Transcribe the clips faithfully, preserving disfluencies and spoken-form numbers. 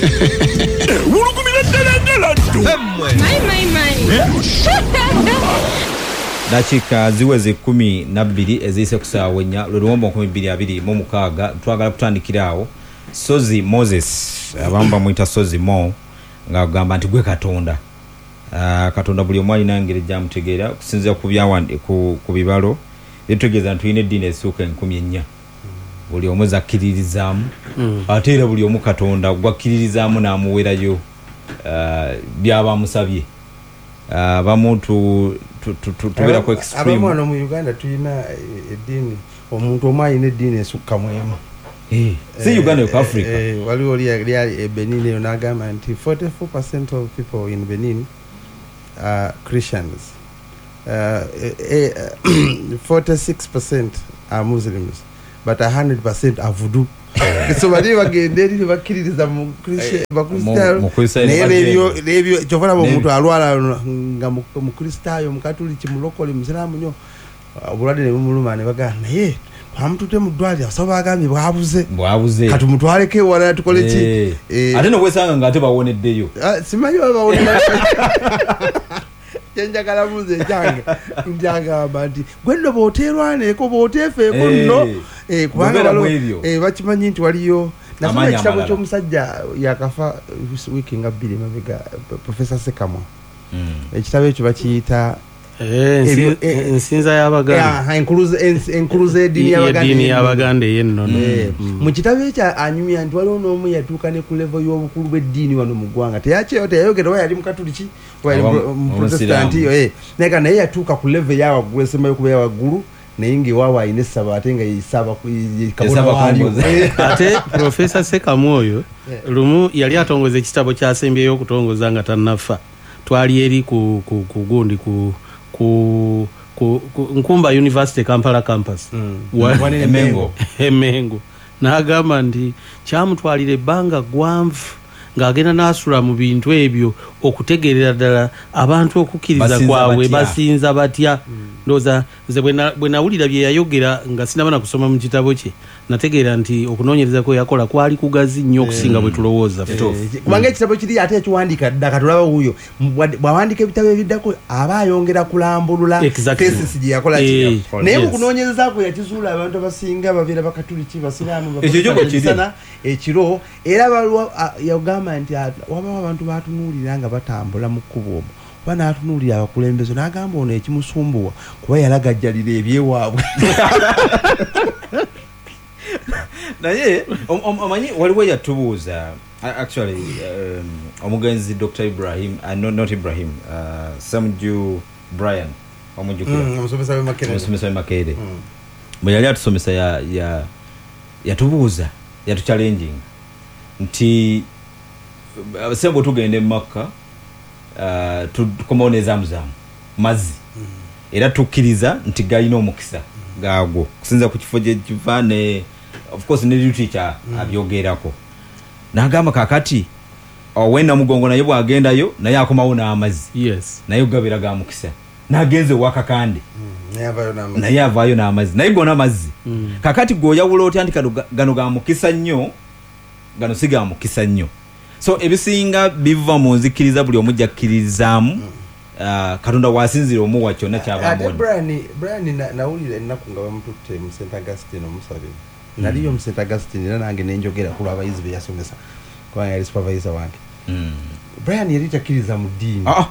Wulugumira ddala ddala ddo. My, my, my. Dakika ziweze kumi na bbiri eziyise ku ssaawa ennya, lwe luwombo nkumi bbiri abiri mu mukaaga. Twagala kutandikira awo. Sozi Moses, abamu bamuyita Sozi Mo, ng'agamba nti gwe Katonda. Ah, Katonda buli omu alina engeri gy'amutegeera okusinziira ku byawandi-, ku, ku bibalo byetutegeeza nti tulina eddiini ezisukka enkumi ennya. Buli omu zakkiririzaamu. Mm. Ate era buli omu Katonda gwakkiririzaamu n'amuwerayo, ah, by'aba amusabye. Ah, abamu tu-, tu-, tu-, tu-, tubeera ku extreme. Abamu wano mu Uganda tulina, eh, eddiini, omuntu omu alina eddiini esukka mu emu. Eh, si Uganda yokka, Eh, Africa. eh, waliwo oli yali ali e Benin eyo n'agamba nti forty-four percent of people in Benin are Christians. Uh, eh, eh, forty-six percent are Muslims, but a hundred percent are voodoo. So bali bagenda eri ne bakkiririza mu Christian, Eh, Bakristaayo. mu-, mu Kristaayo Naye ne bagenda. n'ebyo, n'ebyo, kyova olaba omuntu N'ebyo. alwala nga mu-, Mukristaayo, Mukatuliki, Mulokole, Musiraamu nnyo, obulwadde ne bumuluma ne bagamba, naye twamututte mu ddwaliro, abasawo bagambye bwabuze. Bwabuze. Kati tumutwaleko ewalala tukole ki? Eh. Eh. Ate n'obwesanga nga ate bawoneddeyo. Ah, simanyi oba bawoneddeyo. Kye njagala mbuuze ekyange, nti agamba nti, gwe nno bw'oteerwaneeko, bw'oteefeeko Eh. nno, eh, kubanga Bw'obeera waliwo, mu ebyo. eh, bakimanyi nti waliyo. Nasoma Amaanyi ekitabo amalala. ky'omusajja yakafa wiiki nga bbiri emabega, Professor Sekamwa. Mm. Ekitabo ekyo bakiyita Eh, ensi- Ebyo, eh, ensinza y'Abaganda. Aha, enkuluze, ens-, enkuluze y'eddiini Ye-, y'Abaganda Y'eddiini ey'ennono. y'Abaganda ey'ennono. Eh, Mm. mu kitabo ekyo anyumya nti waliwo n'omu yatuuka ne ku level y'obukulu bw'eddiini wano mu ggwanga. Teyakyeyo, teyayogera oba yali Mukatuliki, oba yali Oba mu-, mu Omusiraamu. Protestant, eh, naye nga naye yatuuka ku level eya waggulu, esembayo kuba eya waggulu, naye ng'ewaabwe alina essabo ate nga yesaba ku-, ye-, ye kabona Yesaba waalyo. kumbuza. Eh. Ate Professor Sekamwa oyo, Eh. lumu yali atongoza ekitabo ky'asembyeyo okutongoza nga tannafa. Twali eri ku, ku, ku gundi, ku, ku, ku, ku Nkumba University Kampala campus. Mm. Wa- Wanene Emengo. Emengo. N'agamba nti kyamutwalira ebbanga ggwanvu ng'agenda n'asula mu bintu ebyo okutegeerera ddala abantu okukkiriza Basinza kwabwe, batya. basinza batya. Mm. Ndowooza nze bwe na-, bwe nawulira bye yayogera nga sinnaba na kusoma mu kitabo kye, nategeera nti okunoonyereza kwe yakola kwali kugazi nnyo okusinga bwe tulowooza ffe. Eh, kubanga ekitabo kiri ate ekiwandiika dda, katulaba wuuyo. Bwa-, bw'awandiika ebitabo ebiddako aba ayongera kulambulula Exactly. thesis gye yakola ki. Eh, Naye mu yes. kunoonyereza kwe yakizuula abantu abasinga babeera Bakatuliki, Basiraamu, Ekyo kyo bwe kiri. Baprotestani, ekiro. Era waliwo, a, yagamba nti, a, wabawo abantu batunuulira nga batambula mu kkubo omwo. Oba n'atunuulira abakulembeze n'agamba ono ekimusumbuwa kuba yalagajjalira ebyewaabwe. Naye, om-, om-, omanyi waliwo eyatubuuza, a-, actually, um, omugenzi Doctor Ibrahim, uh, no, not Ibrahim, uh, Semju Brian, omujjukira? Mm, omusomesa w'e Makerere. Omusomesa w'e Makerere. Mm. Bwe yali atusomesa ya, ya, yatubuuza, yatuchallenging nti, uh, sebo tugenda e Makka, uh, tukomawo ne Zamzam mazzi. Mm. Era tukkiriza nti galina omukisa gaagwo kusinziira ku kifo gye kiva ne of course ne literature Mm. abyogerako. N'agamba kaakati ow'e Namugongo naye bw'agendayo naye akomawo n'amazzi. Yes. Naye gabeera ga mukisa. N'agenze ewa Kakande. Mm. Naye avaayo n'amazzi. Naye avaayo n'amazzi. Naye gonna amazzi. Mm. Kaakati gw'oyawula otya nti gano ga-, gano ga mukisa nnyo, gano si ga mukisa nnyo. So ebisinga biva mu nzikiriza buli omu gy'akkirizaamu. Mm. Ah, Katonda w'asinzira omuwa kyonna ky'aba Ate amuwadde. Brian, Brian na-, nawulira ennaku nga bamututte mu Saint Augustine omusabira. Naliyo mu Saint Augustine era nange ne njogera ku lw'abayizi be yasomesa, kubanga yali supervisor wange. Mm. Brian yali takkiriza mu ddiini. Ah, ah.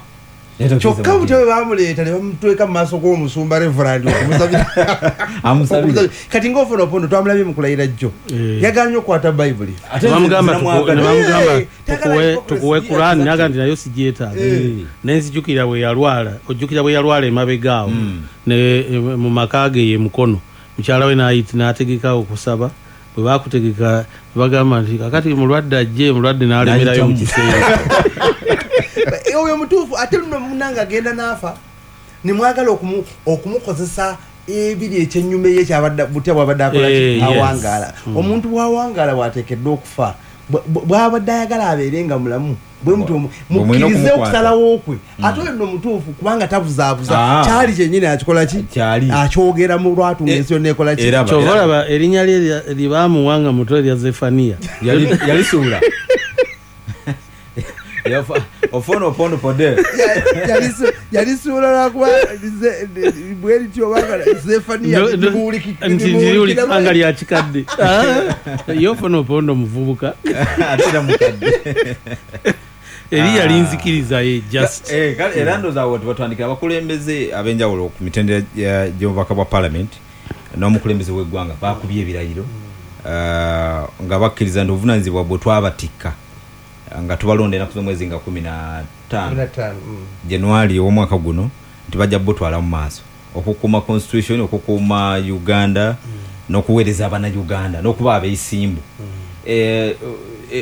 Yali takkiriza Kyokka mu butya ddiini. bwe baamuleeta ne bamutweka mu maaso g'omusumba Reverend okumusabira. Amusabira. Okumusabira. Kati ng'ofuna opondo twamulabye mu kulayira jjo. Eh. Yagaanye okukwata Bayibuli. Ate Ne bamugamba nze tuku-, namwagala. ne bamugamba Eh, tagala tukuwe, hypocrisy. tukuwe Yeah, Quran, exactly. n'agamba nti nayo sigyetaaga. Eh. Ne nzijukira bwe yalwala, ojjukira bwe yalwala emabega awo, Mm. ne, eh, mu maka ge ye Mukono. Mukyala we n'ayita, n'ategeka okusaba. Bwe baakutegeka, bagamba nti kakati mulwadde ajje, mulwadde n'alemerayo mu N'ayitamu. kiseera. Eh, oyo mutuufu, ate nno munnange agenda n'afa, ne mwagala okumu-, okumukozesa ebiri ekyennyume ye ky'abadde, butya bw'abadde akola ki? Eh, yes. Awangaala. Mm. Omuntu bw'awangaala bw'ateekeddwa okufa, bw-, bw-, bw'abadde ayagala abeere nga mulamu, bwe mutyo Bwe mu-, mulina mukkirize okumukwata. okusalawo kwe. Mm. Ate oyo nno mutuufu kubanga tabuzaabuza. Ah. Kyali kyennyini akikola ki? Kyali. Akyogera mu lwatu Eh, ng'ensi yonna ekola ki? eraba, Ky'ova eraba. olaba erinnya lye lya-, lye baamuwa nga muto erya Zefaniya. Yali-, yalisuula. Ofono Opondo Poder yalisuula lwakuba bwerityo obanga Zefaniya ndiwulikika lya kikadde. Ye Ofono Opondo muvubuka ate era mukadde eri yali nzikiriza ye just eh era ndowooza awo tebatandikira abakulembeze ab'enjawulo ku mitendera gy'obubaka bwa parliament n'omukulembeze w'eggwanga bakubye ebirayiro nga bakkiriza nti obuvunaanyizibwa bwe twabatikka nga tubalonda ennaku z'omwezi nga kumi na ttaano January ow'omwaka guno nti bajja butwala mu maaso okukuuma constitution, okukuuma Uganda n'okuweereza Abannayuganda n'okuba abeesimbu.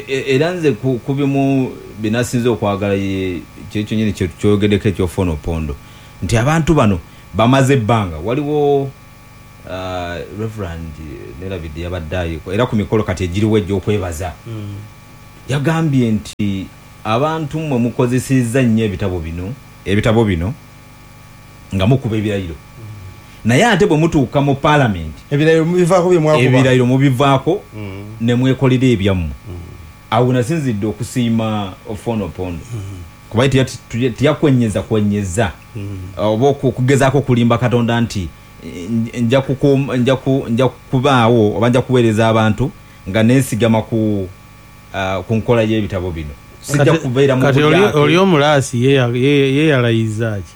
Era nze ku bimu binasinze okwagala kyekyo nyini kyoyogeddeko eky'Ofono Opondo nti abantu bano bamaze ebbanga. Waliwo Reverend Nerabidde yabadde ayiko era ku mikolo kati egiriwo egy'okwebaza yagambye nti abantu mmwe mukozesezza nnyo ebitabo bino ebitabo bino nga mukuba ebirayiro, naye ate bwe mutuuka mu paalamenti ebirayiro mubivaako bye mwakuba ebirayiro mubivaako ne mwekolera ebyammwe. Awo nasinzidde okusiima Ofono Opondo kuba teyakwenyeza kwenyeza oba okugezaako okulimba Katonda nti nja kubaawo oba nja kuweereza abantu nga neesigama ku ku nkola y'ebitabo bino. Sijja kubeera mu kati oli omulaasi ye yalayiza ki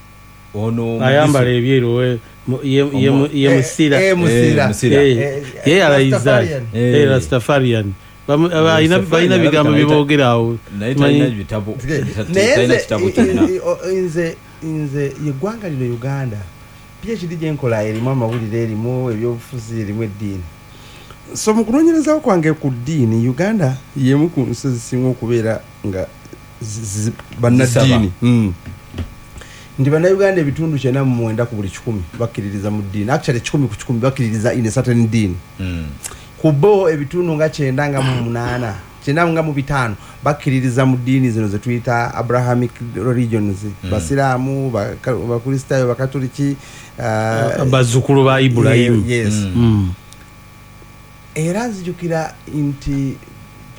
ono ayambala ebyeru ye musira ye yalayiza ki Rastafarian balina bigambo byeboogera awo naye talina bitabo talina kitabo kyonna. Nze nze eggwanga lino Uganda PhD gyenkola erimu amawulire, erimu ebyobufuzi, erimu eddiini. So mu kunoonyerezaako kwange ku ddiini, Uganda y'emu ku nsi ezisinga okubeera nga bannaddiini. Nti bannayuganda ebitundu kyenda mu mwenda ku buli kikumi bakkiririza mu ddiini. Actually kikumi ku kikumi bakkiririza in a certain ddiini. Ku bo ebitundu nga kyenda nga mu munaana, kyenda nga mu bitaano bakkiririza mu ddiini zino ze tuyita Abrahamic religions, Basiraamu, Bakristaayo, Bakatoliki, bazzukulu ba Ibulayimu. Yes. Era nzijukira nti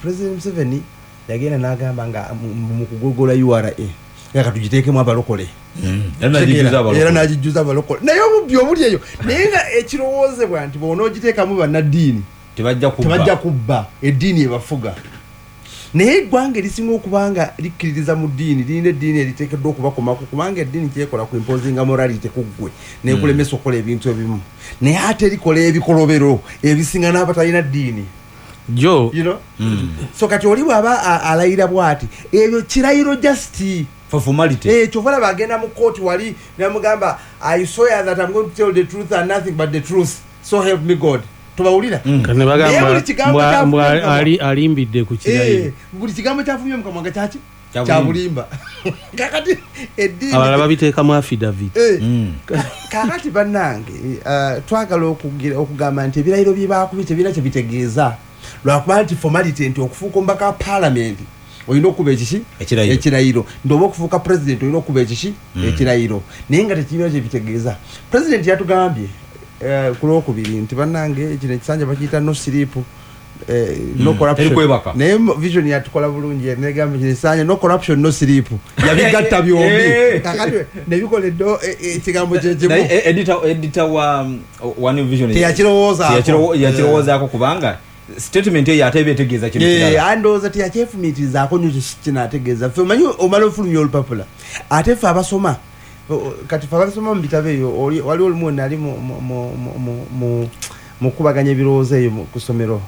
President Museveni yagenda n'agamba nga mu kugogola U R A nga katugiteekemu abalokole era n'agijjuza abalokole, naye obubbi obuli eyo naye nga ekirowoozebwa nti bw'onoogiteekamu bannaddiini tebajja kubba, eddiini ebafuga. Naye eggwanga erisinga okuba nga likkiririza mu ddiini lirina eddiini eriteekeddwa okubakomako, kubanga eddiini kyekola ku imposinga morality ku ggwe n'ekulemesa okukola ebintu ebimu, naye ate likola ebikolobero ebisinga n'abatalina ddiini jo you know? Mm. So kati oli bw'aba alayira bw'ati ebyo kirayiro just for formality. Eh, kyova olaba agenda mu kooti wali namugamba I swear that I'm going to tell the truth and nothing but the truth, so help me God. Tubawulira alimbidde ku kirayiro, buli kigambo kyafumye mu kamwa nga kyaki kyabulimba. Kakati eddiini abalala babiteekamu affidavit. Kakati bannange twagala okugamba nti ebirayiro bye baakubye tebirina kye bitegeeza, lwakuba nti formality nti okufuuka omubaka wa paalamenti olina okuba ekiki ekirayiro, nti oba okufuuka president olina okuba ekiki ekirayiro, naye nga tekirina kye bitegeeza. President yatugambye ku lwokubiri nti bannange kino ekisanja bakiyita no sleep, no corruption, naye vision yatukola bulungi negamba kino ekisanja no corruption no sleep, yabigatta byombi kakati nebikola ekigambo kyekimu. Editor wa New Vision teyakirowoozaako kubanga statement eyo ate ebeetegeeza kino kirala. Andowooza teyakyefumiitirizaako nnyo kinaategeeza. Ffe omanyi omala ofulumya olupapula ate ffe abasoma kati ffe abasoma mu bitabo eyo waliwo olumu nali mu kubaganya ebirowoozo eyo ku ssomero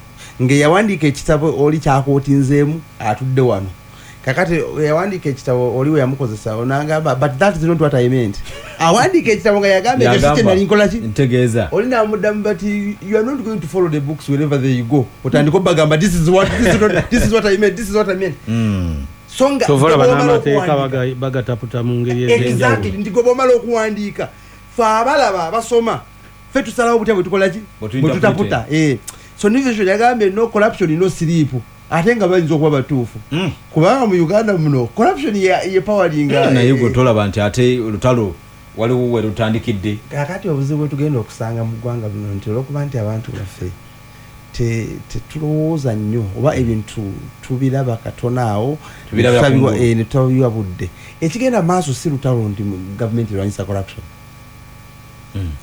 ng'eyawandiika ekitabo oli kyakootinzeemu atudde wano. Kakati yawandiika ekitabo oli we yamukozesa onangamba but that is not what I meant. Awandiika ekitabo nga yagamba ekyo si kye nali nkola ki ntegeeza. Oli n'amuddamu but you are not going to follow the books wherever they go. Otandika obagamba this is what this is not, this is what I meant, this is what I meant. Mm. So nga tovola bannamateeka bagataputa mu ngeri ez'enjawulo. Exactly, nti gwe bw'omala okuwandiika ffe abalaba abasoma ffe tusalawo butya bwe tukola ki bwe tutaputa. Eh. So New Vision yagambye no corruption no sleep. Ate nga bayinza okuba batuufu kubanga mu Uganda muno corruption ye poweringa. Naye gwe tolaba nti ate olutalo waliwo we lutandikidde. Kakati obuzibu bwe tugenda okusanga mu ggwanga bino nti olw'okuba nti abantu baffe Tetulowooza nnyo oba ebintu tubiraba katono awo ne tutabiwa budde. Ekigenda maaso si lutalo nti gavumenti erwanyisa corruption.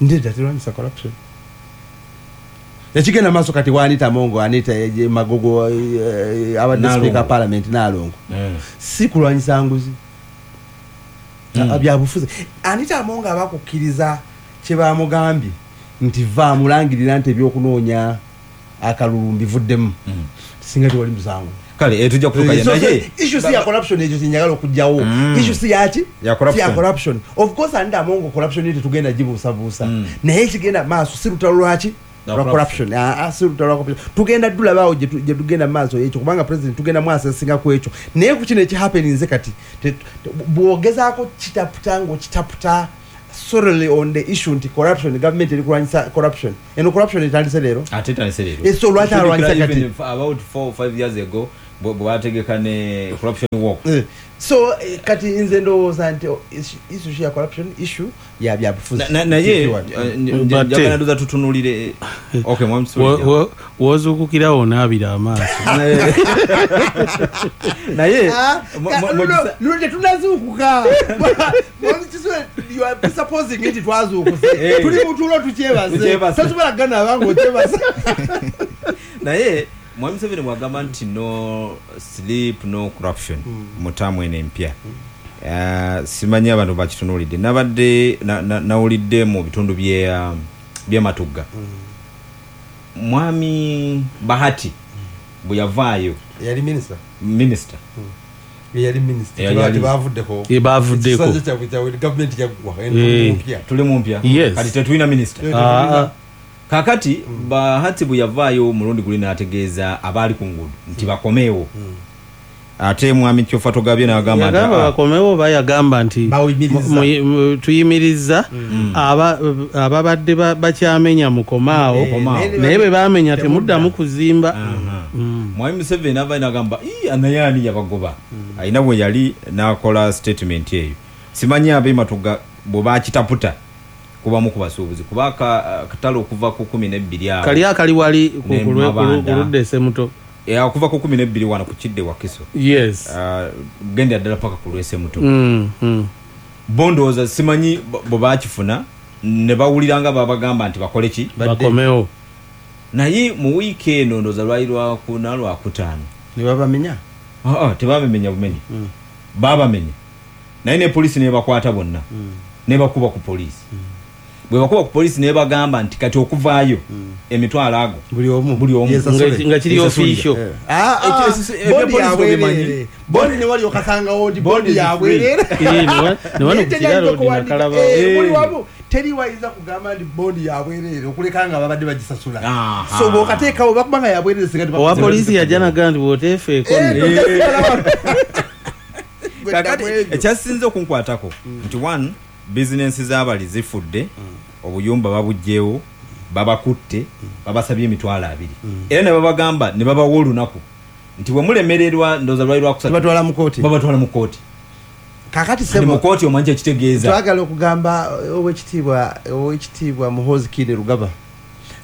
Ndedda terwanyisa corruption. Ekigenda maaso kati wa Anita Mongo, Anita Magogo, abadde speaker parliament Nalongo, si kulwanyisa nguzi, byabufuzi. Anita Amongo abakukkiriza kye bamugambye nti va mulangirira nti ebyokunoonya akalulu mbivuddemu, singa tewali musango. Kale tujja kutuuka naye issue si ya corruption, ekyo kyenjagala okugyawo. Issue si yaki ya corruption. Of course Anita Amongo corruption ye tetugenda gibuusabuusa, naye ekigenda maaso si lutalo lwaki lwa corruption. Si lutalo lwa corruption, tugenda dulabaawo gye tugenda maaso ekyo, kubanga president tugenda mwasesinga ku ekyo. Naye ku kino ekihappeninze kati bw'ogezaako kitaputa ng'okitaputa solely on the issue nti corruption, government eri kulwanyisa corruption. Eno corruption etandise leero, ate etandise leero. So lwaki alwanyisa kati? About four or five years ago bwe bategeka ne corruption walk. So kati nze ndowooza nti issue ya corruption issue ya byabufuzi. Naye njagala ndoza tutunulire. Okay, mwami Sulija, wozuukukirawo onaabira amaaso. Naye luno tetunazuukuka. You are presupposing nti twazuukuse, tuli mutulo tukyebaze, tosobola kugana abange okyebase. Naye Mwami Museveni bw'agamba nti no sleep no corruption mu ttaamu eno empya, simanyi abantu bakitunuulidde. Nabadde nawulidde mu bitundu by'Ematugga, Mwami Bahati bwe yavaayo, yali minisita minisita yali minisita tebavuddeko, bavuddeko gavumenti yaggwa tuli mu mpya kati tetulina minisita. Kakati Bahati bwe yavaayo omulundi guli n'ategeeza abaali ku nguudo nti bakomeewo. Ate Mwami Kyofatogabye n'agamba nti bakomeewo, bayagamba nti tuyimiriza ababadde bakyamenya mukomaawo, naye bwe bamenya temuddamu kuzimba. Mwami Museveni avaayo n'agamba naye ani yabagoba, alina bwe yali n'akola statement eyo. Simanyi ab'e Matugga bwe bakitaputa kubamu ku basuubuzi, kuba akatale okuva ku kumi n'ebbiri awo kali akali wali ku ludde Semuto, okuva ku kumi n'ebbiri wano ku Kidde Wakiso, yes, genda ddala paka ku lw'Esemuto. Bo ndowooza simanyi bwe bakifuna ne bawulira nga babagamba nti bakole ki, bakomewo. Naye mu wiiki eno ndowooza lwali lwakuna lwakutaano ne babamenya. Tebabamenya bumenyi, babamenya naye ne poliisi nebakwata bonna, nebakuba ku poliisi. Bwe bakuba ku poliisi nebagamba nti kati okuvaayo emitwalo ago buli omu buli omu nga kiri official. Bondi ne wali okasangawo ndi bondi yabwerere ne wano ku kiralo nakalaba buli wamu teri wayinza kugamba ndi bondi yabwerere okuleka nga babadde bagisasula. So bw'okateekawo bakubanga yabwerere singa owa poliisi yajja n'agamba nti bw'oteefeeko. Kakati ekyasinze okunkwatako nti one, bizinensi z'abali zifudde, obuyumba babuggyewo, babakutte, babasabye emitwalo abiri, era ne babagamba ne babawa olunaku nti bwe mulemererwa ndowooza lwali lwakusatu babatwala mu kooti, babatwala mu kooti. Kakati sebo mu kooti omanyi ekitegeeza. Twagala okugamba owekitiibwa owekitiibwa Muhoozi Kainerugaba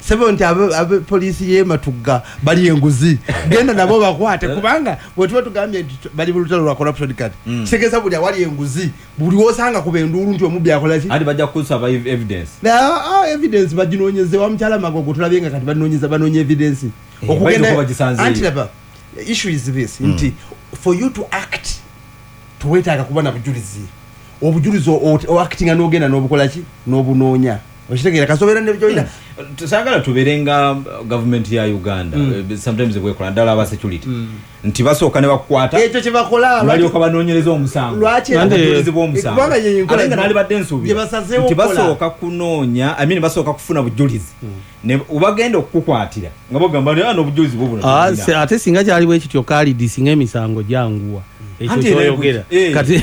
sebo nti abe poliisi y'e Matugga bali enguzi, genda nabo bakwate, kubanga bwe tuba tugambye nti bali mu lutalo lwa corruption kati kitegeeza buli awali enguzi buli w'osanga kuba enduulu nti omubbi akola ki, anti bajja kukusaba evidence. Evidence baginoonyeze wa mukyala Magogo, tulabye nga kati banoonyeza banoonya evidence okugenda. Anti laba issue is this nti for you to act tuwetaaga kuba na bujulizi, obujulizi oactinga n'ogenda n'obukola ki n'obunoonya. Okitegeera kasobeera ne byolina. Tusagala tubeere nga gavumenti ya Uganda sometimes bwekola ddala aba security nti basooka ne bakukwata ekyo kye bakola balyoka banoonyereza omusango, obujulizi bw'omusango, ate nga naalibadde nsuubira nti basooka kunoonya, I mean basooka kufuna bujulizi ne obagenda okukukwatira nga bagamba nti n'obujulizi bwo buno. Ate singa kyali bwe kityo Khalid, singa emisango gyanguwa ekyo kyoyogera kati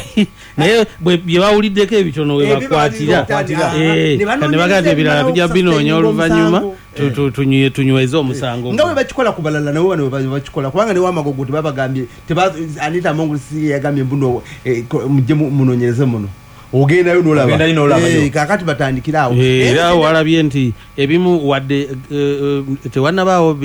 naye bye bawuliddeko ebitono we bakwatira ne bagamba ebirala tujja binoonya oluvannyuma tunyweze omusango nga bwe bakikola ku balala nabo bano bakikola, kubanga ne Wamagogo tebabagambye Anita Amongo si yagambye mbuno mujje munoonyereze muno. Ogendayo n'olaba. Eh, kakati batandikira awo. Era walabye nti ebimu wadde tewannabaawo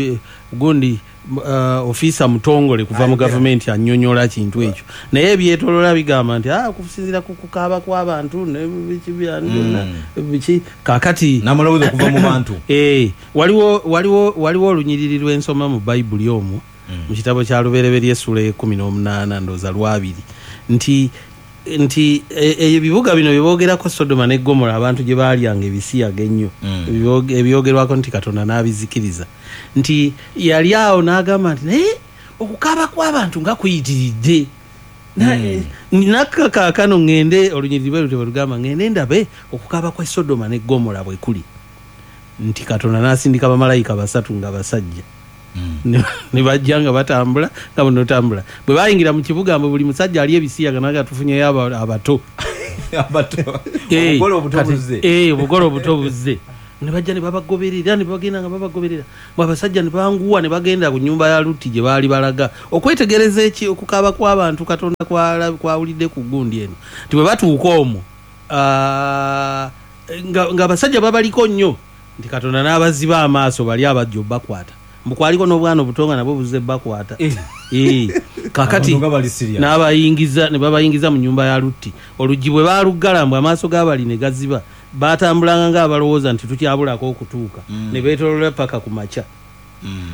gundi uh, ofisa mutongole kuva mu gavumenti annyonnyola kintu ekyo, naye ebyetoloola bigamba nti ah, okusinziira ku kukaaba kw'abantu ne biki byonna biki kakati n'amaloboozi okuva mu bantu. Eh, waliwo waliwo waliwo olunyiriri lw'ensoma mu Bayibuli omwo mu kitabo kya Lubereberye essula ekkumi n'omunaana ndowooza lwabiri nti nti ebibuga bino bye boogerako Sodoma ne Gomora abantu gye baalyanga ebisiyaga ennyo, ebyogerwako nti Katonda n'abizikiriza, nti yali awo n'agamba nti naye okukaaba kw'abantu nga kuyitiridde, nakka kaakano ŋŋende, olunyiriri bwe lutyo bwe lugamba, ŋŋende ndabe okukaaba kwa Sodoma ne Gomora bwe kuli, nti Katonda n'asindika bamalayika basatu nga basajja ne bajja nga batambula nga bunotambula, bwe bayingira mu kibuga mbu buli musajja ali ebisiyaga naga tufunyeyo abato obugole obuto buzze, eh, obugole obuto buzze, ne bajja ne babagoberera ne bagenda nga babagoberera, mbu abasajja ne banguwa ne bagenda ku nnyumba ya Lutti gye baali balaga okwetegereza eki okukaaba kw'abantu Katonda kwawulidde ku gundi eno, nti bwe batuuka omwo nga abasajja babaliko nnyo, nti Katonda n'abaziba amaaso bali abajja obbakwata, mbu kwaliko n'obwana obuto nga nabwo buzze bakwata. Eh, kakati n'abayingiza ne babayingiza mu nnyumba ya Lutti, oluggi bwe baaluggala mbu amaaso g'abali ne gaziba, batambulanga ng'abalowooza nti tukyabulako okutuuka, ne beetoloola paka ku makya.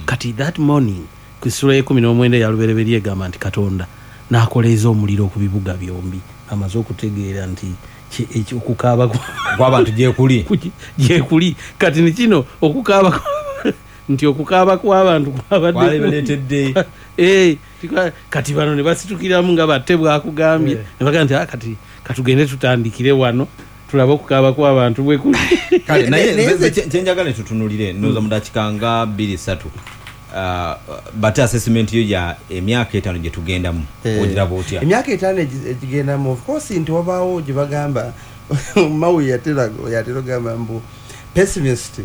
Kati that morning ku ssula y'ekkumi n'omwenda eya Lubereberye egamba nti Katonda n'akoleeza omuliro ku bibuga byombi, amaze okutegeera nti okukaaba kw'abantu gyekuli gyekuli. Kati ne kino okukaaba nti okukaaba kw'abantu kwabadde eh, kati bano ne basitukiramu nga batte bwakugambye, ne bagamba nti ah, kati katugende tutandikire wano tulabe okukaaba kw'abantu bwe kuli. Kale naye kyenjagala tutunulire ndowooza mu dakiika nga bbiri ssatu, bate assessment yo ya emyaka etaano gye tugendamu ogiraba otya? Emyaka etaano egigendamu, of course nti wabaawo gye bagamba Mawi yatera yatera ogamba mbu pessimist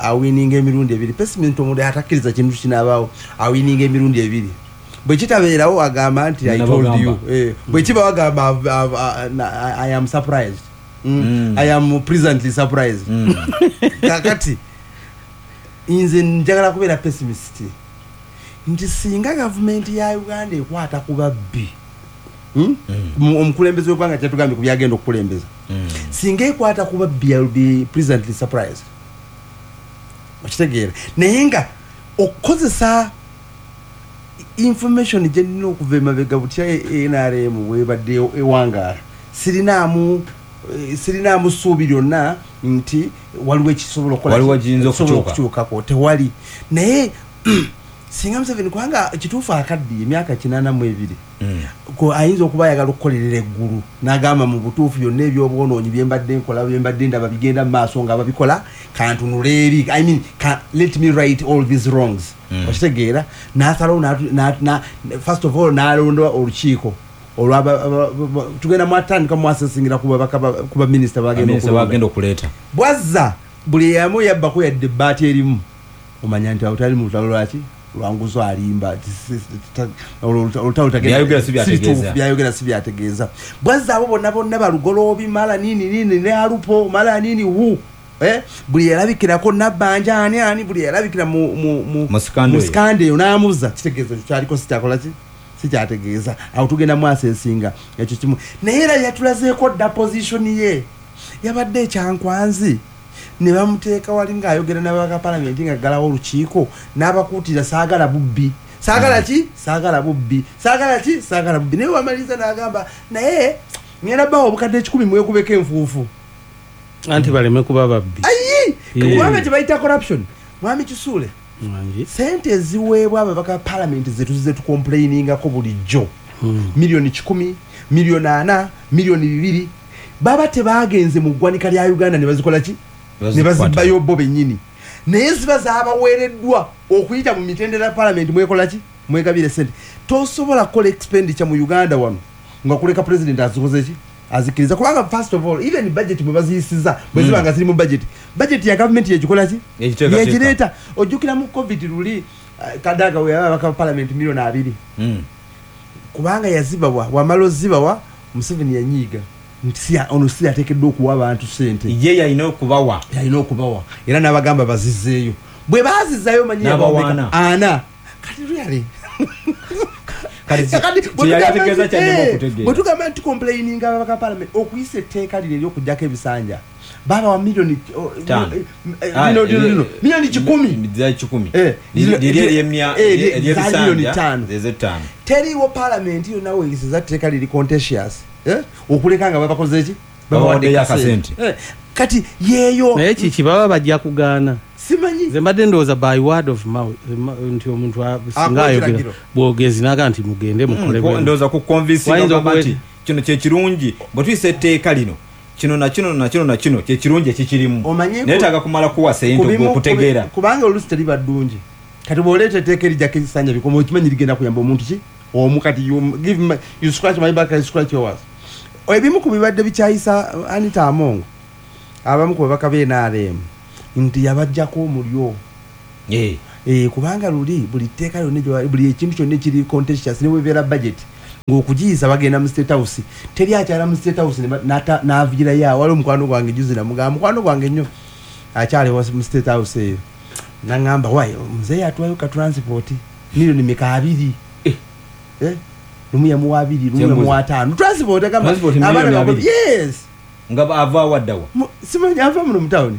awininga emirundi ebiri. Pessimist omuntu atakkiriza kintu kinaabaawo awininga emirundi ebiri, bwe kitabeerawo agamba nti I told you, bwe kibawo agamba I am surprised, I am presently surprised. Kakati nze njagala kubeera pessimist nti singa gavumenti ya Uganda ekwata ku babbi, omukulembeze w'eggwanga kyatugambye ku byagenda okukulembeza, singa ekwata ku babbi I will be presently surprised. Okitegeera? Naye nga okukozesa information gye nnina okuva emabega butya N R M bwebadde ewangaala, sirinaamu sirinaamu ssuubi lyonna nti waliwo ekisobola okukola okukyukako, tewali. Naye singa Museveni, kubanga kituufu akaddiye emyaka kinaana mu ebiri, ayinza okuba ayagala okukolerera eggulu n'agamba mu butuufu byonna ebyobwonoonyi bye mbadde nkola bye mbadde ndaba bigenda mu maaso nga babikola, kantunule eri, I mean, let me right all these wrongs. Okitegeera? N'asalawo, first of all n'alonda olukiiko tugenda mwatandika mwasesingira ku baminisita bagenda okuleeta, bwazza buli yamu yabbako yadde ebbaati erimu, omanya nti awo tali mu lutalo lwaki lwanguzo alimba, olutalo byayogera si byategeeza. Bwazza abo bonna bonna balugoloobi mala nini nini ne alupo mala nini hu, buli yalabikirako Nabbanja ani ani, buli yalabikira mu sikande eyo n'amuzza, kitegeeza kyaliko sikyakola ki sikyategeeza. Awo tugenda mwasesinga ekyo kimu. Naye era yatulazeeko dda position ye yabadde ekyankwanzi, ne bamuteeka wali ng'ayogera n'ababaka palamenti ng'aggalawo olukiiko n'abakuutira saagala bubbi, saagala ki, saagala bubbi, saagala ki, saagala bubbi. Naye wamaliriza n'agamba naye ngenda bbawo obukadde ekikumi mwekubeko enfuufu anti baleme kuba babbi. Ayi, kubanga kye bayita corruption. Mwami Kisuule, sente eziweebwa ababaka palamenti zetuzize tukomplainingako bulijjo, miliyoni kikumi, miliyoni ana, miliyoni bibiri, baba tebagenze mu ggwanika lya Uganda ne bazikola ki, ne bazibbayo bo bennyini, naye ziba zaabaweereddwa okuyita mu mitendera palamenti mwekola ki, mwegabire sente. Tosobola kukola expenditure mu Uganda wano nga kuleka president azikoze ki, azikiriza, kubanga first of all even budget mwe baziyisiza bwe ziba nga ziri mu budget, budget ya government yegikola ki, yegireeta. Ojjukira mu covid luli Kadaga we yaba abaka parliament miliyoni abiri, kubanga yazibawa, wamala ozibawa Museveni yanyiiga Nti si ono si yateekeddwa okuwa abantu ssente, ye yalina okubawa, yalina okubawa, era n'abagamba bazizzeeyo. Bwe baazizzayo manyi N'abawaana. Ana kati really Kati Kati kye yali ategeeza kyannema okutegeera. Bwe tugamba nti complaining ababaka parliament okuyisa etteeka lino ery'okuggyako ebisanja, babawa miliyoni oh, Ttaano. eh, eh, Ah, lino, lino, eh, lino, miliyoni kikumi. Za kikumi. Eh, Liri lino- liri ery'emya- eh, lye- ery'ebisanja, za miliyoni ttaano. Ez'ettaano. Teriiwo parliament yonna weeyisiza tteeka liri contentious, eh, okuleka nga babakoze ki? Babawaddeyo akasente. Eh, kati yeeyo Naye kiki baba bajja kugaana? Simanyi. Nze mbadde ndowooza by word of mouth, nti omuntu a- singa Akuwa ayogera ekiragiro. bwogezi naga nti mugende mukole Mm, bwe ndowooza ku convincing Wayinza ogamba okuwe- nti kino kyekirungi, bwe tuyisa etteeka lino, kino na kino na kino na kino kyekirungi ekikirimu, Omanyi ku- neetaaga kumala kuwa sente Ku bimu- okutegeera. kubi- kubanga oluusi teriba ddungi. Kati bw'oleeta etteeka erijjako ekisanja bikoma, okimanyi ligenda kuyamba omuntu ki omu. Kati you give my, you scratch my back, I scratch yours. Ebimu ku bibadde bikyayisa Anita Among, abamu ku babaka b'N R M, nti yabajjako omulyo. Eh, Eh, kubanga luli buli tteeka lyonna gye- buli ekintu kyonna ekiri contentious, ne bwebeera budget, ng'okugiyisa bagenda mu State House. Teri akyala mu State House ne ba- n'ata- n'aviirayo awo. Waliwo mukwano gwange juzi, namugamba, mukwano gwange nnyo akyali wa- mu State House eyo, naŋŋamba, "Wayi muzeeyi atwayo ka transport miliyoni meka abiri." Eh, lumu yamuwa abiri, lumu Kyembuuza. yamuwa ataano. Transport agamba Transport miliyoni abaana abiri? Yes. Nga ava waddawa? Mu- simanyi ava muno mu tawuni.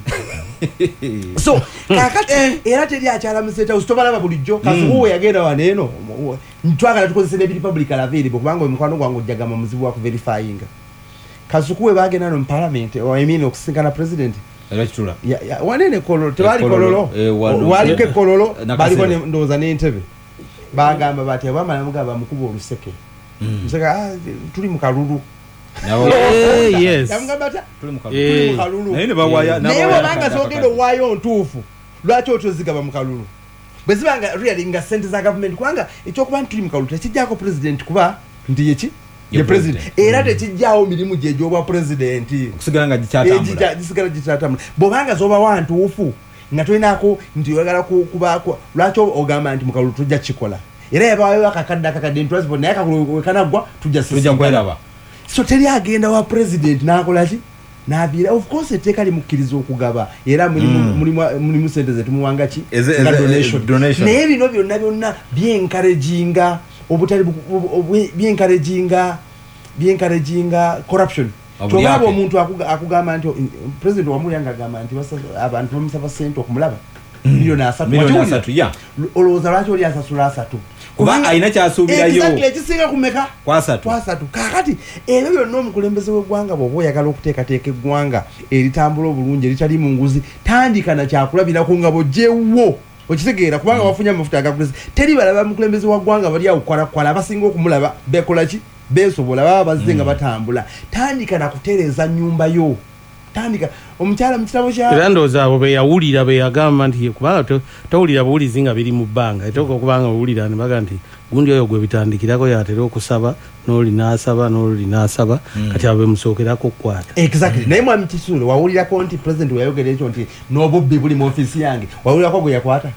So kakati era teri akyala mu State House, tobalaba bulijjo. Kasuku we yagenda wano eno, twagala tukozese n'ebiri public available, kubanga oyo mukwano gwange ojjagamba muzibu wa kuverifyinga. Kasuku we bagenda no mu parliament, I mean okusinkana president, Era kitula. Ya- ya- wanene Kololo, tebali E Kololo, Kololo, eh, wano- waliko ekololo, Nakasero. baliko ne- ndowooza n'entebe. Bagamba bati abamala mugamba mukuba oluseke, museke, "Ah, tuli mu kalulu." Nabo- Eh, yes. Yamugamba atya? Tuli mu kalulu. Eh. Tuli mu kalulu. Naye ne bawaya- Naye n'abawaya bwobanga akadde zogenda akakadde. owaayo ntuufu, lwaki otyo zigaba mu kalulu bwe ziba nga really nga sente za gavumenti? Kubanga ekyokuba nti tuli mu kalulu tekijjako president kuba nti yeki Ye ye president, president. era tekijjaawo mirimu gye egy'obwa president Okusigala nga gikyatambula. Egija- gisigala gikyatambula. Bwobanga zobawa ntuufu nga tolinako nti oyagala ku- kubaako, lwaki ogamba nti mukalulu tujja kikola? Era yabawayo akakadde akakadde transport, naye akalulu wekanaggwa tujja tujja sisinkana. kweraba. So teri agenda wa president n'akola ki, n'aviira. Of course etteeka limukkiriza okugaba, era mulimu Mm. mulimu- mulimu sente zetumuwanga ki Eze- nga eze- donation. Donation. Naye bino byonna byonna byenkarejinga obutali bu- bu- bu- byenkarejinga byenkarejinga corruption. Obulyake. Kyobaba omuntu akuga- akugamba nti president wamulya nga agamba nti basa- abantu bamusaba sente okumulaba miliyoni asatu. Miliyoni Wakiwulira? asatu, ya. Olowooza lwaki oli asasula asatu? Kuba alina kyasuubirayo. Exactly, ekisinga kumeka? Kwasatu. Kwasatu. Kakati ebyo byonna omukulembeze w'eggwanga, bw'oba oyagala okuteekateeka eggwanga eritambula obulungi eritali mu nguzi, tandika na kyakulabirako nga bw'oggyewo, okitegeera? Kubanga wafunye amafuta agakulezi, teri balaba mukulembeze wa ggwanga bali awo kwalakwala. Abasinga okumulaba bekola ki? Beesobola, baba bazze nga batambula. Tandika na kutereeza nnyumba yo, tandika omukyala mu kitabo kya Era ndowooza abo beyawulira beyagamba nti ye- kubanga to- towulira buwulizi nga biri mu bbanga, eteeka okuba nga owulira ne baga nti gundi oyo gwe bitandikirako yatera okusaba n'oli n'asaba n'oli n'asaba, kati abo bemusookerako okukwata. Exactly. Naye mwami Kisuule, wawulirako nti president weyayogera ekyo nti n'obubbi buli mu ofiisi yange, wawulirako gwe yakwata?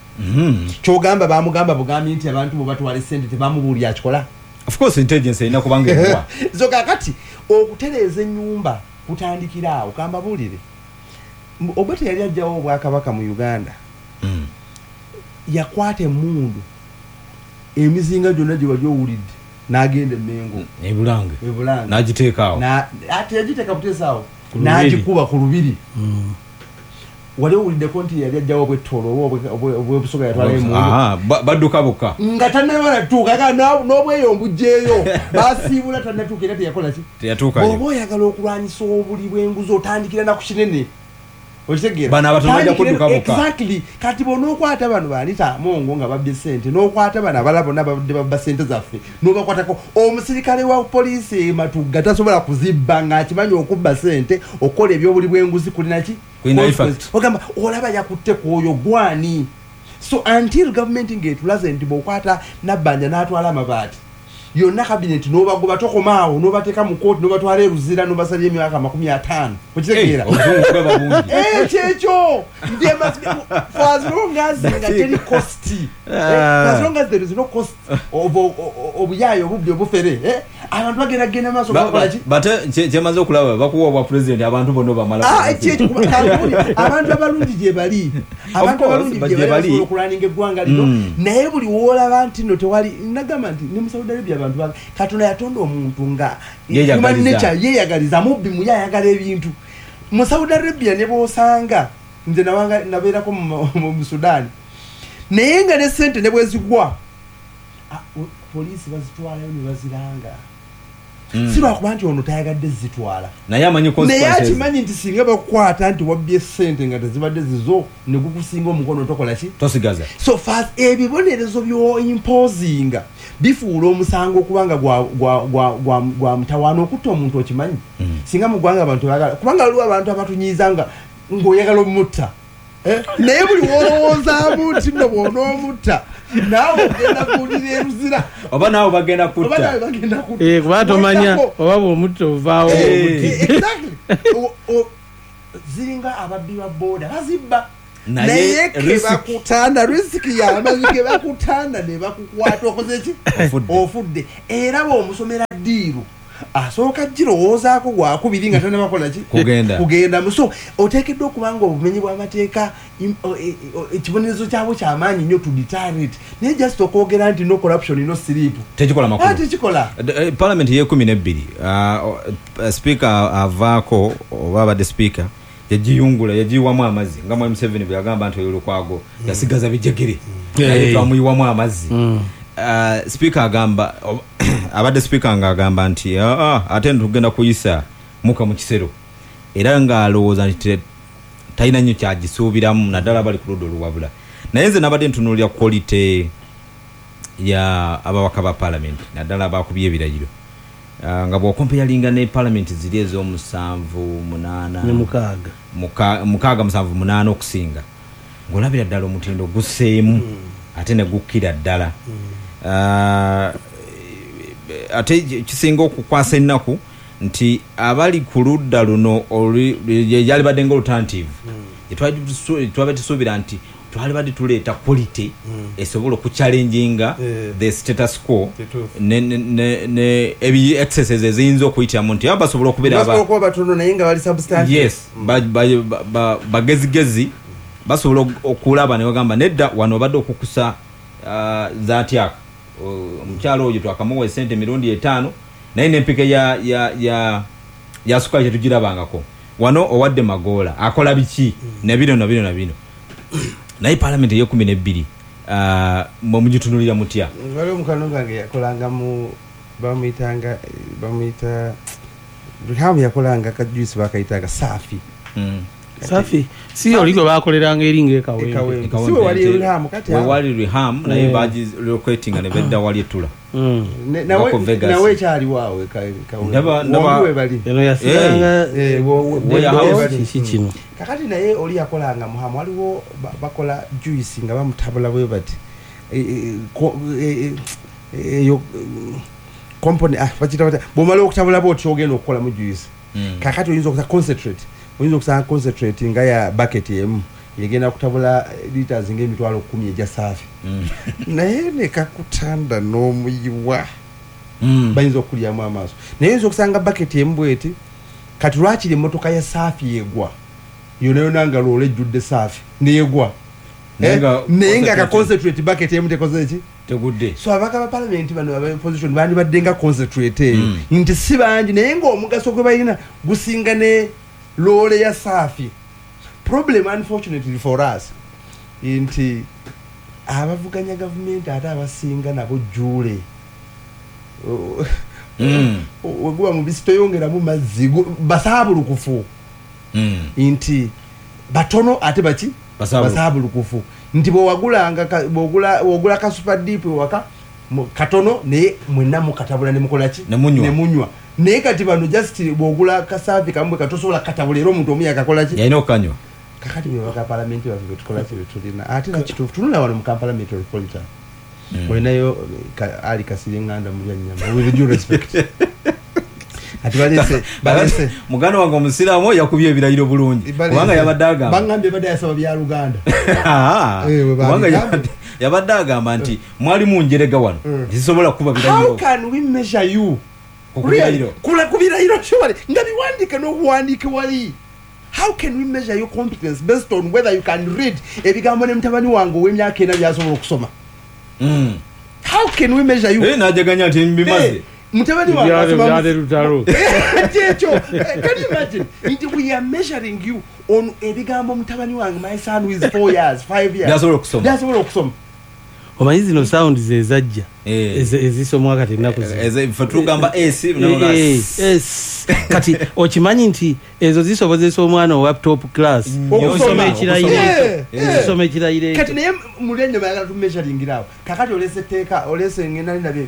Kyogamba bamugamba bugambi nti abantu bwe batwala esente tebamubuulira akikola? Of course intelligence erina kubanga ebuwa. So kakati okutereeza ennyumba kutandikira awo. Kambabuulire, M- Obote yali ajjawo obwakabaka mu Uganda, Mm. yakwata emmundu, emizinga gyonna gye wali owulidde, n'agenda Emengo, Ebulange. Ebulanga. N'agiteeka awo. Na- ate yagiteeka buteesa awo, Ku lubiri. n'agikuba ku lubiri. Wali owuliddeko nti yali ajjawo obwettoolo oba obwe- obwe- obwebusoga yatwala emundu? Aha, ba- badduka bokka. Nga tannaba natuuka, aga n'obweyo mbugjeeyo, basiibula tannatuuka, era teyakola ki? Teyatuukayo. Bw'oba oyagala okulwanyisa obuli bw'enguzi, otandikira na ku kinene, okitegeera? Bano abatono bajja Tandikira- kudduka bokka. Exactly. Kati bw'onookwata bano baanita Amongo nga babbye sente, n'okwata bano abalala bonna babadde babba sente zaffe, n'obakwatako omusirikale wa poliisi e Matugga tasobola kuzibba ng'akimanyi okubba sente, okukola ebyobuli bw'enguzi kulina ki? Kulina effect. Ogamba olaba yakutte ku oyo gwani. So until government ng'etulaze nti bw'okwata Nabbanja n'atwala amabaati, Yonna cabinet n'obagoba, tokomaawo, n'obateeka mu kooti, n'obatwala eruzira, n'obasalira emyaka makumi ataano. Okitegeera? Obuzungu bweba bungi. Eh, kyekyo. There must be, for as long as nga teri cost, eh, for as long as there is no cost of obuyaayo, obubbi, obufere, eh, abantu bagenda genda maaso bakola ki? Bate kyemaze okulaba, bakuwa obwa president, abantu bonna bamala. Ah, kyekyo, abantu abalungi gye bali, abantu abalungi gye bali basobola okulwaninga eggwanga lino. Naye buli woolaba nti no tewali, nagamba nti ne mu Saudi Arabia abantu ba Katonda yatonda omuntu nga human nature yeeyagaliza, mubbi muye ayagala ebintu. Mu Saudi Arabia ne bw'osanga, nze nawanga nabeerako mu Sudan, naye nga ne sente ne bwezigwa, poliisi bazitwalayo ne baziranga. Si lwakuba nti ono tayagadde zitwala, naye amanyi naye akimanyi nti singa bakukwata nti wabbye sente nga tezibadde zizo, ne gukusinga omukono, tokola ki? Tosigaza. So fast ebibonerezo byo-imposinga bifuula omusango okubanga gwa mutawaana okutta omuntu. Okimanyi, singa mu ggwanga abantu bagala, kubanga waliwo abantu abatunyiiza nga ng'oyagala omutta, naye buli wolowoozaamu nti nno bw'onoomutta naawe ogenda kuwulira eruzira, oba naawe bagenda kutta, kuba tomanya oba bw'omutta ovaawo. Ziringa ababbi ba booda, bazibba, naye kebakutanda risk y'amazi, kebakutanda ne bakukwata, okoze ki? Ofudde. Era bw'omusomera ddiiru, asooka girowoozaako gwakubiri nga tannabakola ki? Kugenda. So oteekeddwa okuba nga obumenyi bw'amateeka ekibonerezo kyabwo kyamaanyi nnyo to deter it. Naye just okwogera nti no corruption, no sleep, tekikola makulu. Tekikola. Parliament y'ekumi n'ebbiri, speaker avaako, oba abadde speaker, yagiyungula, yagiyiwamu amazzi, nga mwami Museveni bwe yagamba nti oyo Lukwago yasigaza bijegere, naye twamuyiwamu amazzi. Speaker agamba, abadde speaker nga agamba nti ate tugenda kuyisa muka mu kisero, era ng'alowooza nti talina nnyo kyagisuubiramu, naddala bali ku ludda oluwabula. Naye nze nabadde ntunuulira quality ya ababaka ba parliament, naddala abakubye ebirayiro, nga bw'okompeyalinga ne parliament ziri ez'omusanvu munaana ne mukaaga, mukaaga, musanvu, munaana okusinga, ng'olabira ddala omutindo gusseemu ate ne gukkira ddala. Ate kisinga okukwasa ennaku nti abali ku ludda luno yalibadde nga alternative, twabadde tusuubira nti twalibadde tuleeta quality esobola okuchallenginga the status quo ne ebi excesses eziyinza okuyitiramu, nti basobola okubeera batono naye nga bali substantive. Yes, bagezigezi basobola okulaba ne bagamba nedda, wano obadde okukusa zatyaka omukyalo oyo twakamuwa esente emirundi etaano, naye n'empeke ya ya ya ya sukali tetugirabangako, wano owadde Magoola akola biki, ne bino na bino na bino. Naye parliament ey'ekumi n'ebbiri mwe mugitunulira mutya? Waliwo mukwano gwange yakolanga mu, bamuyitanga, bamuyita Riham, yakolanga ka juice bakayitanga Safi. Safi si oli gwe bakoleranga eringa ekawempe? Si we wali Riham kati? We wali Riham, naye bagi relocating ne bedda wali etula. Nawe ekyaliwo awo we bali eno yasigalanga kiki kino. Kakati naye oli yakolanga muhamu, waliwo bakola juice nga bamutabula bwe bati eyo company, bakiyita batya, bw'omala okutabula bw'otyo ogenda okukolamu juice. Kakati oyinza okusa concentrate, oyinza okusanga concentrate nga ya bucket emu yegenda kutabula liters ng'emitwalo kkumi egya Saafi, naye nekakutanda n'omuyiwa, bayinza okulyamu amaaso. Naye oyinza okusanga bucket emu bweti, kati lwakiri emmotoka ya Saafi yegwa yona yona nga loola ejjudde Saafi neyegwa, naye nga ka concentrate bucket emu tekoze ki? Tegudde. So ababaka ba parliament bano aba opposition bandibadde nga concentrate eyo, nti si bangi, naye ng'omugaso gwe balina gusinga ne loole ya Saafi. Problem unfortunately for us nti abavuganya gavumenti ate abasinga nabo jjuule weguba mubisi toyongeramu mazzi, basaabulukufu, nti batono ate baki basaabulukufu, nti bwewagulanga bwogula ka Super Dip ewaka katono, naye mwenna mukatabula ne mukola ki? Ne munywa. Naye kati bano just bwogula kasaafi kamwe katosobola katabula, era omuntu omu yakakola ki? Yalina okukanywa. Kakati bwe baka palamenti baffe betukola ki betulina, ate nakituufu tunula wano mu Kampala Metropolitan. Olinayo Ali Kasirye Nganda Mulyannyama, with due respect. Ati balese balese muganda wange omusiraamu yakubye ebirayiro bulungi kubanga yabadde agamba bangambye badde yasaba bya Luganda. Kubanga yabadde agamba nti mwali munjerega wano zisobola kuba birayiro. How can we measure you ku birayiro? Kula ku birayiro surely nga biwandiike n'obuwandiike wali. How can we measure your competence based on whether you can read ebigambo ne mutabani wange ow'emyaka ena by'asobola okusoma? Mm. How can we measure you? Eh, najaganya nti mbimaze. Mutabani wange asoma lutalo. Ekyo, can you imagine? Nti we are measuring you on ebigambo mutabani wange, my son who is four years, five years. By'asobola okusoma. By'asobola okusoma. Omanyi zino sound ze zajja ezisomwa kati ennaku zino. Ffe tugamba S, S. Kati okimanyi nti ezo zisobozesa omwana owa top class okusoma ekirayiro ekyo. Okusoma ekirayiro ekyo. Kati naye Mulyannyama ayagala tumeasuringira awo. Kakati olese etteeka, olese ngenda ndabye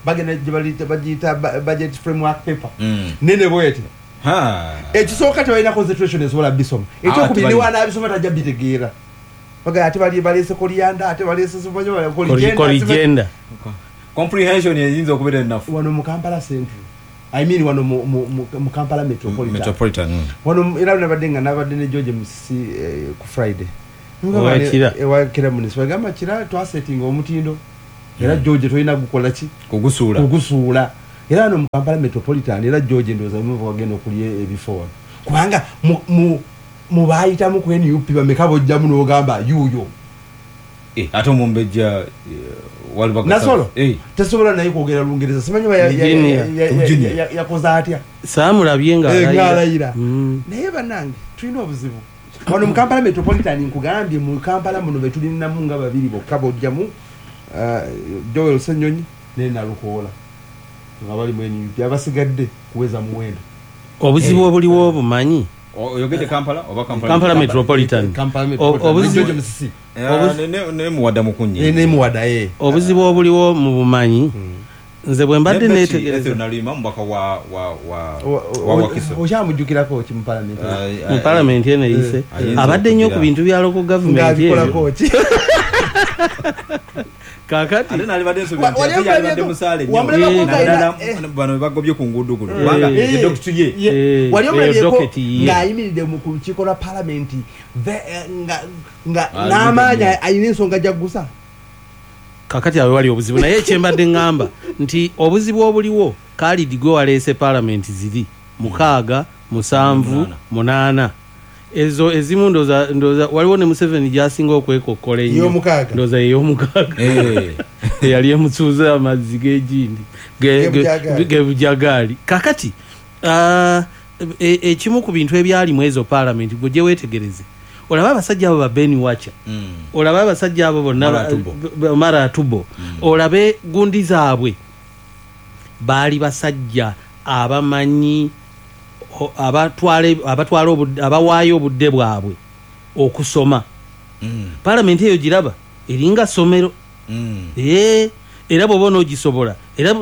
bagenda gye bagiyita budget framework paper. Nene bw'eti. Ekisooka tebalina concentration esobola bisoma. Ekyokubiri ne wanaabisoma tajja bitegeera. Baga ate bali balese koliyanda ate balese koligenda comprehension eyinza okubeera ennafu wano mu Kampala Central, I mean wano mu, mu, mu Kampala Metropolitan, Metropolitan. Mm. Wano era nabadde nga nabadde ne George Musisi eh, ku Friday ewakira Kira municipal gamba Kira twasettinga omutindo era mm. George tolina gukola ki kugusuula kugusuula era wano mu Kampala Metropolitan era George ndowooza muva wagenda okulya ebifo wano kubanga mu, mu mubayitamu ku N U P bameka bojjamu n'ogamba yuuyo. Eh, ate omumbejja waliba Nasolo eh. Tasobola naye kwogera Lungereza simanyi yakoze atya saamulabye nga alayira. Naye bannange tulina obuzibu wano mu Kampala Metropolitan. Nkugambye mu Kampala muno be tulinamu nga babiri bokka bojjamu Joel Ssenyonyi ne Nalukoola nga bali mu N U P, abasigadde kuweza muwendo. Obuzibu obuliwo obumanyi oyogedde Kampala oba Kampala Kampala Metropolitan. Kampala Metropolitan ne ne muwada mukunye ne muwada eh obuzibu obuliwo mu bumanyi. Nze bwe mbadde neetegereza nalima mbaka wa wa wa wa Wakiso okyamujjukirako ki mu parliament mu parliament eno eyise abadde nnyo ku bintu bya local government ng'abikolako ki kakati ate nalibadde nsuubira nti ate yalibadde musaale nnyo naddala bano bagobye ku nguudo kuno kubanga ye dokiti ye wali omulabyeko ng'ayimiridde mu lukiiko lwa palamenti nga n'amaanyi alina ensonga gy'aggusa. Kakati awe wali obuzibu naye ekyembadde ŋŋamba nti obuzibu obuliwo Khalid gwe waleese palamenti ziri mukaaga musanvu munaana ezo ezimu ndoza ndoza waliwo ne Museveni gy'asinga okwekokkola ennyo ndoza ey'omukaaga eyali emusuuza amazzi g'egindi gebujagaali. Kakati ekimu ku bintu ebyalimu ezo palamenti gwe gye weetegereze olaba abasajja abo ba Ben Wacha, olaba abasajja abo bonna Mara Atubo, olabe gundi zaabwe baali basajja abamanyi abatwala abatwala abawaayo obudde bwabwe okusoma. Palamenti eyo giraba eringa ssomero. Eh, era bw'oba onoogisobola era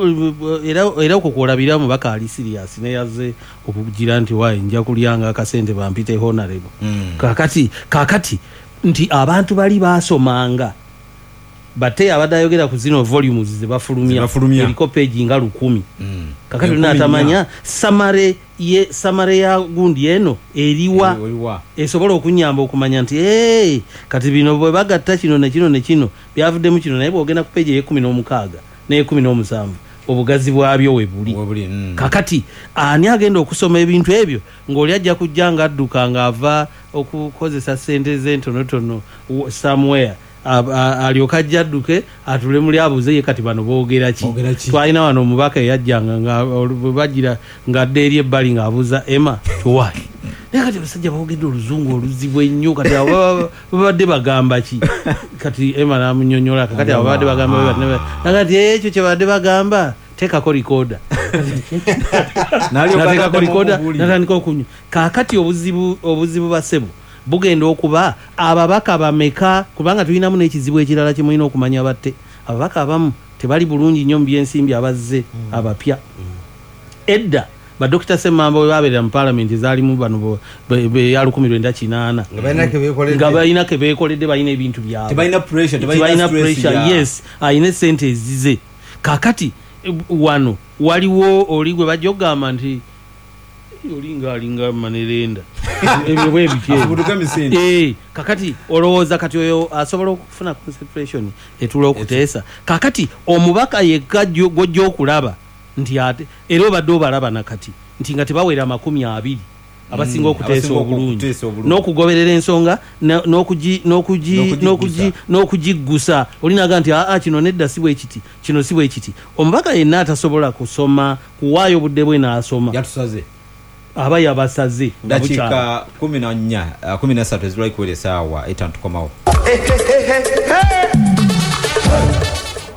era era okwo kw'olabira omubaka ali serious neyaze okugira nti waayi nja kulyanga akasente bampite honorable. Kakati kakati nti abantu bali baasomanga bate abadde ayogera ku zino volumes ze bafulumya eriko page nga lukumi. Kakati olina atamanya summary ye summary ya gundi eno eriwa esobola okunyamba okumanya nti hey, kati bino bwe bagatta kino ne kino ne kino byavuddemu kino, naye bw'ogenda ku page ey'ekkumi n'omukaaga n'ekkumi n'omusanvu obugazi bwabyo we buli. Mm. Kakati ani agenda okusoma ebintu ebyo ng'oli ajja kujja ng'adduka ng'ava okukozesa ssente ze entonotono somewhere alyoka ajja adduke atule muli abuuze ye kati bano boogera ki. Twalina wano omubaka eyajjanga nga bwe bagira ng'adda eri ebbali ng'abuuza Emma tuwayi naye kati abasajja boogedde oluzungu oluzibu ennyo kati abo babadde bagamba ki? Kati Emma n'amunnyonnyola kakati abo babadde bagamba nakati ekyo kye babadde bagamba teekako recorder nateekako recorder natandika okunywa. Kaakati obuzibu obuzibu basebo bugenda okuba ababaka bameka, kubanga tulinamu n'ekizibu ekirala kye mulina okumanya batte ababaka abamu tebali bulungi nnyo mu byensimbi abazze abapya. Edda Ba Dokita Ssemambo bwe babeerera mu paalamenti zaalimu bano ya lukumi lwenda kinaana nga balina ke beekoledde, balina ebintu byabwe, tebalina pressure, tebalina pressure. Yes, alina esente ezize. Kakati wano waliwo oli gwe bajja okugamba nti olinga alinga manerenda ebyo bwe bityo. Eh, kakati olowooza kati oyo asobola okufuna concentration etula okuteesa. Kakati omubaka yekka gw'ojja okulaba nti ate era obadde obalaba nakati nti nga tebawera makumi abiri abasinga okuteesa obulungi n'okugoberera ensonga n'okugiggusa. Olinaga nti aa kino nedda si bwe kiti, kino si bwe kiti. Omubaka yenna atasobola kusoma kuwaayo obudde bwe n'asoma yatusaze, aba yabasaze. Dakiika kumi na nnya kumi na ssatu ezirwali kuwera essaawa etaano tukomawo.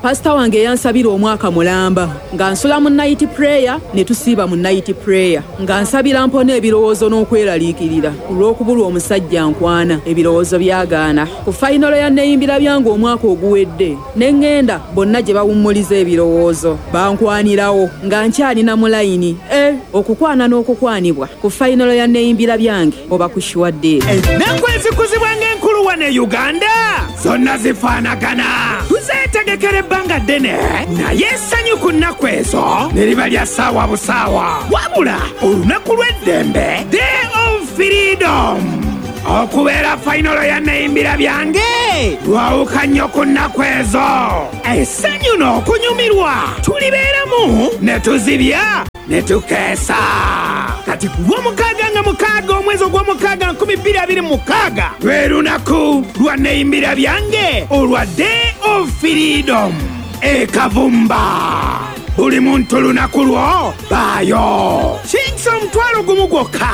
Pasita wange yansabira omwaka mulamba nga nsula mu night prayer ne tusiiba mu night prayer, nga nsabira mpona ebirowoozo n'okweraliikirira olw'okubulwa omusajja nkwana, ebirowoozo byagaana. Ku fayinolo ya neeyimbira byange omwaka oguwedde ne ŋŋenda bonna gye bawummuliza ebirowoozo bankwanirawo nga nkyalina mu layini. E okukwana n'okukwanibwa ku fayinolo ya neeyimbira byange oba ku sure deal. Ennaku ezikuzibwa ng'enkulu wano e Uganda zonna zifaanagana, tuzeetegekera ebbanga ddene, naye essanyu ku nnaku ezo ne liba lya ssaawa busaawa. Wabula olunaku lw'eddembe, Day of Freedom, okubeera fayinolo ya neeyimbira byange lwawuka nnyo ku nnaku ezo. Essanyu n'okunyumirwa tulibeeramu ne tuzibya ne tukeesa. Kati ku lw'omukaaga nga mukaaga omwezi ogw'omukaaga nkumi bbiri abiri mu mukaaga lwe lunaku lwa neeyimbira byange olwa Day of Freedom e Kavumba. Buli muntu lunaku lwo baayo. Kingisa omutwalo gumu gwokka.